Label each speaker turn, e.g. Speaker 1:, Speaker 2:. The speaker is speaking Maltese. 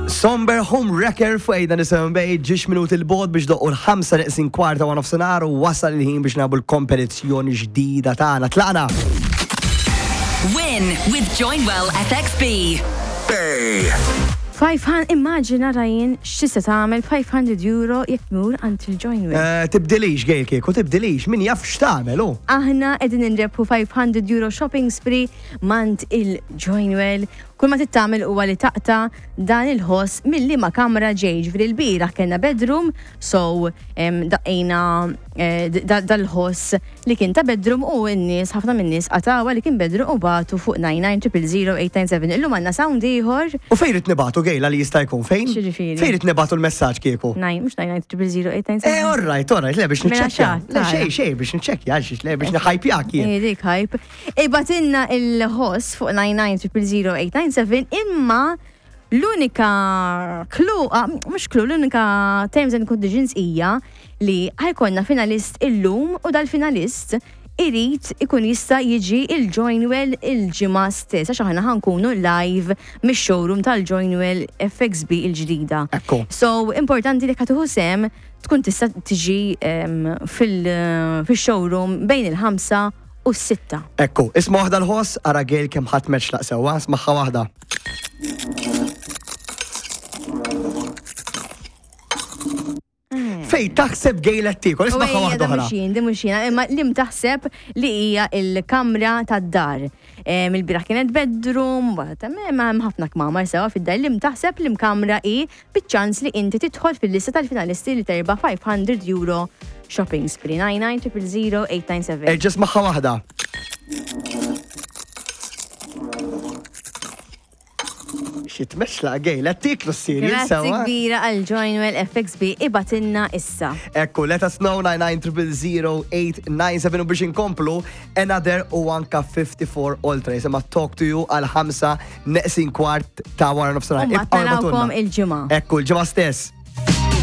Speaker 1: Somber Home Wrecker fuq Ejda Nisimgħu Bay, ġiex minuti l-bogħod biex doqqu l-ħamsa neqsin kwarta wa nofsinhar u wasal il-ħin biex nagħbu l-kompetizzjoni ġdida tagħna. Tlaqna!
Speaker 2: Win with Joinwell FXB.
Speaker 3: 500, immaġina Ryan x'tista' tagħmel 500 euro jekk tmur għand il-Joinwell.
Speaker 1: Eh, tibdilix Gail kieku, tibdilix, min jaf x'tagħmel hu.
Speaker 3: Aħna qegħdin inrebħu 500 euro shopping spree mant il-Joinwell. Kull ma trid tagħmel huwa li taqta' dan il-ħoss minn liema kamra ġej. Ġifieri l-bieraħ kellna bedroom, so daqqejna eh, dal-ħoss li kien ta' bedroom u n-nies, ħafna min-nies qatgħuha li kien bedroom u bagħtu fuq 99000897. Illum għandna sound ieħor.
Speaker 1: U fejn ridt nibagħtu Gail għal jista' jkun fejn?
Speaker 3: X'jiġifieri?
Speaker 1: Fejn ridt nibagħtu l-messaġġ kieku?
Speaker 3: Nine, mhux 99000897.
Speaker 1: Eh, all right, all right, le biex
Speaker 3: Mela
Speaker 1: niċċekkja.
Speaker 3: xatt,
Speaker 1: Le
Speaker 3: tara.
Speaker 1: xejn, xejn biex niċċekkja, għal xiex le biex niħajpjak jien.
Speaker 3: Eh, dik hype. Ibgħatilna il-ħoss fuq 99000897 imma L-unika clue, ah, mhux clue, l-unika terms and conditions hija li ħajkonna finalist illum u dal-finalist irid ikun jista' jiġi il-Joinwell il-ġimgħa stess għax aħna ħankunu live mix-showroom tal-Joinwell FXB il-ġdida.
Speaker 1: Ekku.
Speaker 3: So, importanti li ħa tieħu sehem tkun tista' tiġi fil-showroom bejn il-5 u s-sitta.
Speaker 1: Ekku, isma' waħda l-ħoss, ara Gail kemm ħadd meċlaq sewwa, smaħħa waħda. Fej taħseb Gail qed tiekol, isma' waħda oħra.
Speaker 3: Mhux jien, di mhux jiena, imma lim taħseb li hija l-kamra tad-dar. Il-bieraħ kienet bedroom, ma hemm ħafna kmamar sewa fid-dar. Lim taħseb li kamra hi biċ-ċans li inti tidħol fil-lista tal-finalisti li terba' 500 euro shopping spree. 99 000 897.
Speaker 1: Erġa' smaħħa waħda. Xi tmexla gej, la tiklu s-sirju
Speaker 3: Grazzi
Speaker 1: sewa.
Speaker 3: kbira għal Joinwell FXB ibatinna issa.
Speaker 1: Ekku, let us know 99000897 u biex inkomplu another u anka 54 Ultra jisimha Talk to You għal ħamsa neqsin kwart ta' wara nofsinhar.
Speaker 3: U mbagħad
Speaker 1: Ibqgħu
Speaker 3: narawkom
Speaker 1: ibgħatulna.
Speaker 3: il-ġimgħa.
Speaker 1: Ekku, l-ġimgħa stess.